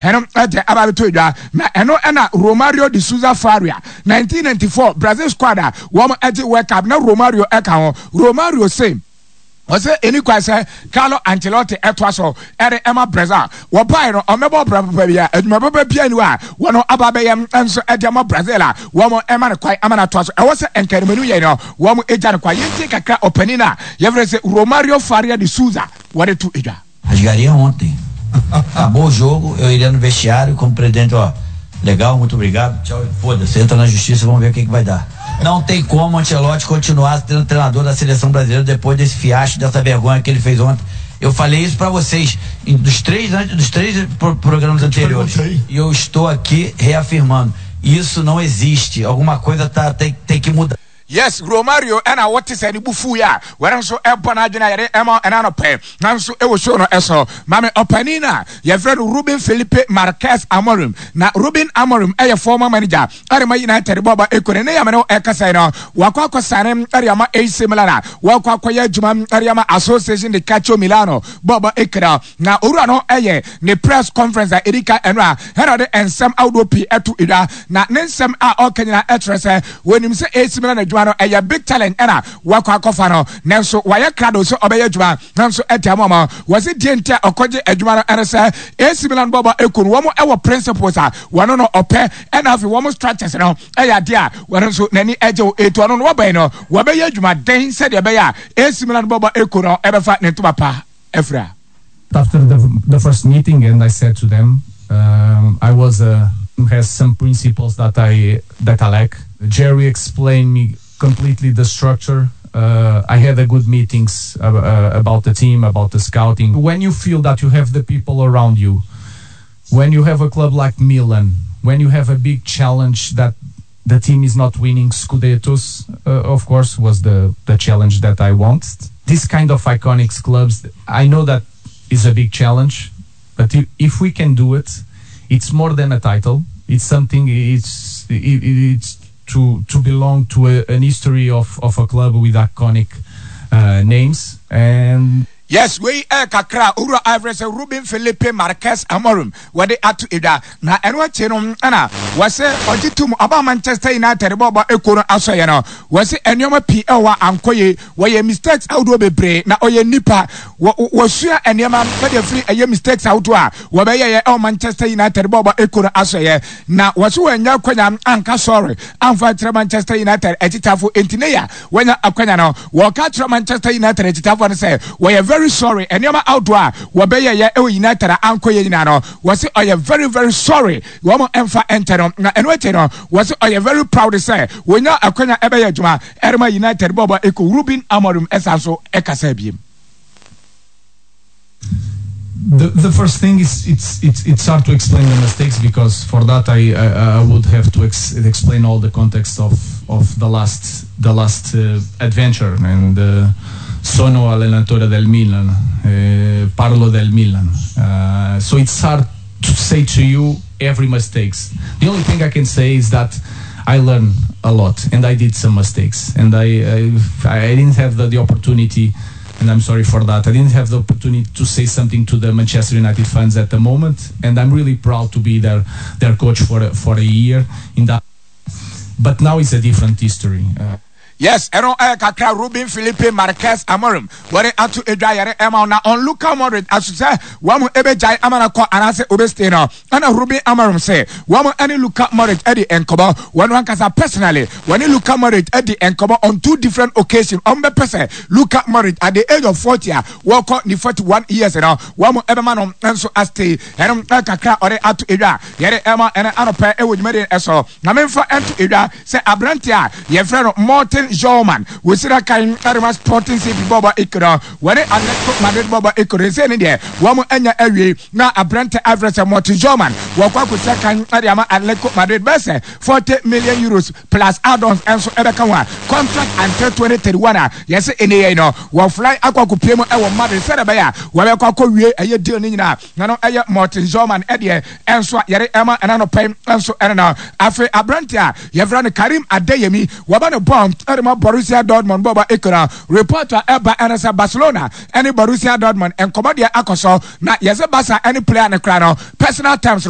Ɛno de aba abɛtɔ dwa, na ɛno na Romario de Souza Faria, 1994 Brazil squad a wɔgye World Cup na Romario ka ho. Romario se ɔsɛ ɛni kwan sɛ Carlo Ancelotti ɛtoa so ɛde ɛma Brazil. Wɔbae no ɔmmɛbɔ bra papa bia, adwuma papa bia ni hɔ a wɔn aba abɛyɛ nso ɛde ama Brazil a wɔn ɛma no kwan ama no atoa so. Ɛwɔ sɛ nkanimanu yɛ no wɔn agya no kwan. Yɛntie kakra ɔpanin a yɛfrɛ sɛ Romario Faria de Souza wɔde to dwa. Rasgaria ontem. Acabou o jogo, eu iria no vestiário como presidente, ó, legal, muito obrigado, tchau, foda-se, entra na justiça, vamos ver o que que vai dar. Não tem como o Ancelotti continuar sendo treinador da seleção brasileira depois desse fiasco, dessa vergonha que ele fez ontem. Eu falei isso para vocês em, dos três dos três pro, programas anteriores. E eu estou aqui reafirmando. Isso não existe. Alguma coisa tá, tem, tem que mudar. Yes Romario ɛna wote sɛ ne bo fuui a wɔn nso ɛbɔ n'adwene a yɛde ɛma ɛna anɔpɛ nanso ɛwɔ show no ɛso maame ɔpanin a yɛfrɛ no Ruben Felipe Marquez Amorim na Ruben Amorim ɛyɛ former manager ɛde ma United bɔɔba ekone ne yamene no ɛkasa yi no wakɔ akɔsane ɛde ama AC Milan a wakɔ akɔyɛ adwuma ɛde ama Association de Calcio Milano bɔɔba ekone na owura no ɛyɛ ne press conference a ɛdi kan ɛno a ɛna ɔde nsɛm ahodoɔ pii ɛto edwa na ne nsɛm a ɔka nyinaa ɛkyerɛ sɛ wɔnim sɛ AC Milan adwuma no ɛyɛ big challenge ɛna wakɔ akɔfa no nanso wayɛ krado sɛ ɔbɛyɛ adwuma nanso ɛde ama ɔma wɔsi deɛ nti a ɔkɔgye adwuma no ɛne sɛ AC Milan bɔbɔ ɛku no wɔn ɛwɔ principles a wɔn no ɔpɛ ɛna afei wɔn structures no ɛyɛ adeɛ a wɔn nso n'ani ɛgye wo etu ɔno no wɔbɛn no wɔbɛyɛ adwuma den sɛdeɛ ɛbɛyɛ a AC Milan bɔbɔ ɛku no ɛbɛfa ne ntoma pa afira. After the, the first meeting, and I said to them, I was a has some principles that I that I like. Jerry explained me completely the structure. I had a good meetings about the team, about the scouting. When you feel that you have the people around you, when you have a club like Milan, when you have a big challenge that the team is not winning Scudettos, of course, was the, the challenge that I want. This kind of iconic clubs, I know that is a big challenge, but if we can do it, it's more than a title. It's something. It's it, it's to to belong to a, an history of, of a club with iconic names and. Yes, wei ɛyɛ kakra a Owura Ivory sɛ Ruben Felipe Marques Amorim wɔde ato edwa. Na ɛno akyi no ɛna wɔsɛ ɔgye tom ɔbaa Manchester United bɔɔlbɔ ekuo no asɔeɛ no. Wɔse nneɛma pii ɛwɔ hɔ a ankɔ yie. Wɔyɛ mistakes ahodoɔ bebree na ɔyɛ nipa. Wɔ wɔsua nneɛma ɛde afiri ɛyɛ mistakes ahodoɔ a wɔbɛyɛeɛ ɛwɔ Manchester United bɔɔlbɔ ekuo no asɔeɛ. Na wɔse wɔannya akwanya anka sorry amfa ankyerɛ Manchester United akyitaafo enti ne ya Wɔanya akwanya no, wɔka kyerɛ Manchester United akyitafoɔ no sɛ wɔyɛ very sorry nneɛma ahodoɔ a wɔbɛyɛeɛ wɔ United a ankɔ yie nyinaa no, wɔse ɔyɛ very very sorry wɔn mfa nkyɛ no. Na ɛno akyi no, wɔse ɔyɛ very proud sɛ wɔnya akwanya ɛbɛyɛ adwuma ɛrema United bɔɔlbɔ ekuo. Ruben Amorim san so kasaa biem. The, the first thing is it's it's it's hard to explain the mistakes because for that I I, I would have to ex explain all the context of of the last the last adventure and sono allenatore del Milan parlo del Milan so it's hard to say to you every mistakes the only thing I can say is that I learned a lot and I did some mistakes and I I, I didn't have the, the opportunity and I'm sorry for that. I didn't have the opportunity to say something to the Manchester United fans at the moment, and I'm really proud to be their their coach for a, for a year in that. But now it's a different history. Yes, ɛno ɛyɛ kakra Ruben Felipe Marquez Amorim wɔde ato edwa yɛre ɛma wo na on Luka Modric aso sɛ wɔn mo ebegyae ama no akɔ anaasɛ obestay no ɛna Ruben Amorim sɛ wɔn ɛne Luka Modric ɛdi nkɔmɔ wɔn ankasa personally wɔne Luka Modric ɛdi nkɔmɔ on two different occasions wɔn bɛpɛ sɛ Luka Modric at the age of 40 a wɔkɔ ne 41 years no wɔn ɛbɛma no nso astay ɛno kakra ɔde ato edwa yɛre ɛma ɛne anɔpɛ ɛwɔ dwumadie ɛso Na memfa nto dwa sɛ aberante a yɛfrɛ no Morten Hjulmand, wɔsira kan de ma Sporting CP bɔɔlbɔ ekuo no, wɔne Atletico Madrid bɔɔlbɔ ekuo no, seesei no deɛ wɔn anya awie. Na aberante a yɛfrɛ sɛ Morten Hjulmand, wɔkɔ akɔsira kan de ama Atletico Madrid bɛyɛ sɛ 40 million euros plus add-ons nso ɛbɛka ho a contract until 2031 a yɛse ɛnnɛ yi no wɔfly akɔ akɔpue mu wɔ Madrid sɛdeɛ ɛbɛyɛ a wɔbɛkɔ akɔwie ɛyɛ deal no nyinaa. Na no ɛyɛ Morten Hjulmand ɛdeɛ ɛnso a yɛde ɛma ɛna anɔpa yi nso ɛne no. Afei aberante a yɛfrɛ no Karim Adeyemi wɔbɔ ne bɔɔl ɛde ma Borussia Dortmund bɔɔlbɔ ekuo no. Report a ɛba ɛne sɛ Barcelona ɛne Borussia Dortmund nkɔmɔ deɛ akɔ so na yɛsɛ Barca ɛne player no koraa no personal terms no.